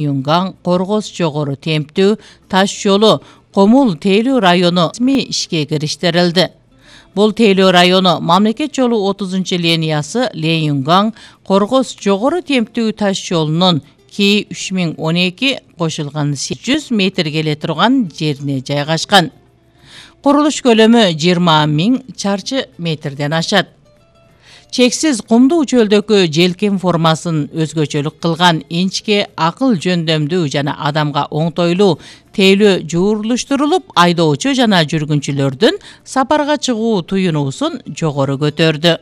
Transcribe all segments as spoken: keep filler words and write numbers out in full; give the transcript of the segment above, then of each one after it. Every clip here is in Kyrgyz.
Юнган Коргоз жогору темптүү таш жолу Комул Тейлүү району ишке кириштирилди. Бул Тейлүү району мамлекет жолу отузунчу линиясы Лен-Юнган Коргоз жогору темптүү таш жолунун К үч миң он эки кошулган жүз метр келе турган жерине жайгашкан. Курулуш көлөмү жыйырма миң чарчы метрден ашат. Чексиз кумдуу чөлдөгү желкен формасын өзгөчөлүк кылган инчке акыл жөндөмдүү жана адамга оңтойлуу тейлөө жуурулуштурулуп, айдоочу жана жүргүнчүлөрдүн сапарга чыгуу туюнуусун жогору көтөрдү.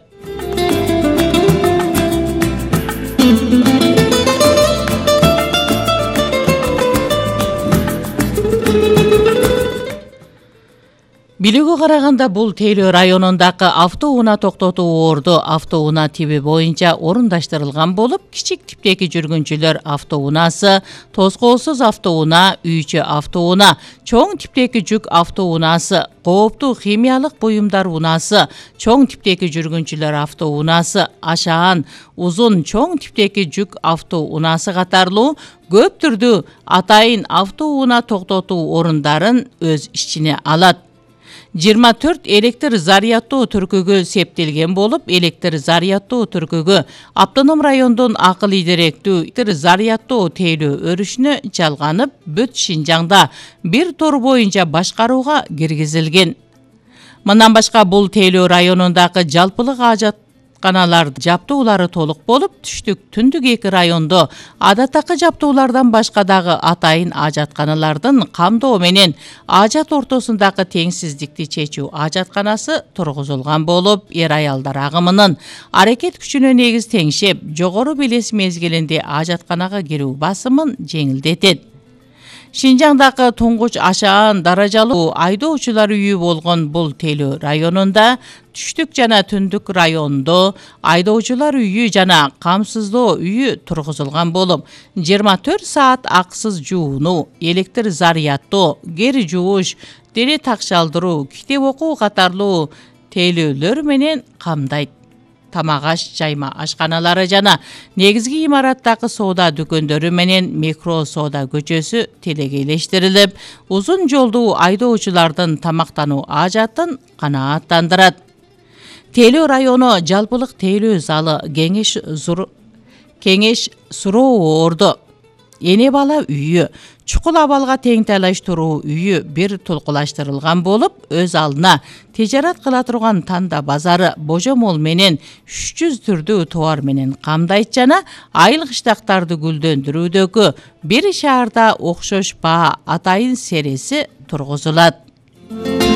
Билүүгө караганда бул Тейлөө районундагы автоунаа токтотуу орду автоунаа тиби боюнча орундаштырылган болуп, кичик типтеги жүргүнчүлөр автоунаасы, тоскоосуз автоунаа, үйчү автоунаа, чоң типтеги жүк автоунаасы, кооптуу химиялык буюмдар унаасы, чоң типтеги жүргүнчүлөр автоунаасы, ашаан, узун чоң типтеги жүк автоунаасы катарлуу көп түрдүү атайын автоунаа токтотуу орундарын өз ичине алат. жыйырма төрт электр зарядтоо түркүгө септелген болуп, электр зарядтоо түркүгө автоном райондун акыл идеректүү электр зарядтоо Тейлөө өрүшүнө жалганып, бүт Шинжаңда бир тор боюнча башкарууга киргизилген. Мындан башка бул Тейлөө районундагы жалпылык ажатканалар жаптуулары толук болуп, түштүк, түндүк эки райондо адаттакы жаптуулардан башка дагы атайын ажатканалардын камдоо менен ажат ортосундагы теңсиздикти чечүү ажатканасы тургузулган болуп, эр-аялдар агымынын аракет күчүнө негиз теңшеп, жогору белес мезгилинде ажатканага кирүү басымын жеңилдетет. Шинжаңдагы туңгуч ашаан даражалуу айдоочулар үйү болгон бул Тейлөө районунда түштүк жана түндүк райондо айдоочулар үйү жана камсыздоо үйү тургузулган болуп, жыйырма төрт саат аксыз жуунуу, электр зарядтоо, кер жууш, дене такшалдыруу, китеп окуу катарлуу тейлөөлөр менен камдайт. Тамак аш жайма ашканалары жана негизги имараттагы соода дүкөндөрү менен микро соода көчөсү телегейлештирилип, узун жолдуу айдоочулардын тамактануу ажатын канааттандырат. Тейлөө району жалпылык тейлөө залы, кеңеш зур кеңеш суроо орду, эне бала үйү, чукул абалга тең талаштыруу үйү бир толкулаштырылган болуп, өз алдына тижарат кыла турган танда базары божомол менен үч жүз түрдүү товар менен камдайт жана айыл кыштактарды гүлдөндүрүүдөгү бир шаарда окшош баа атайын сереси тургузулат.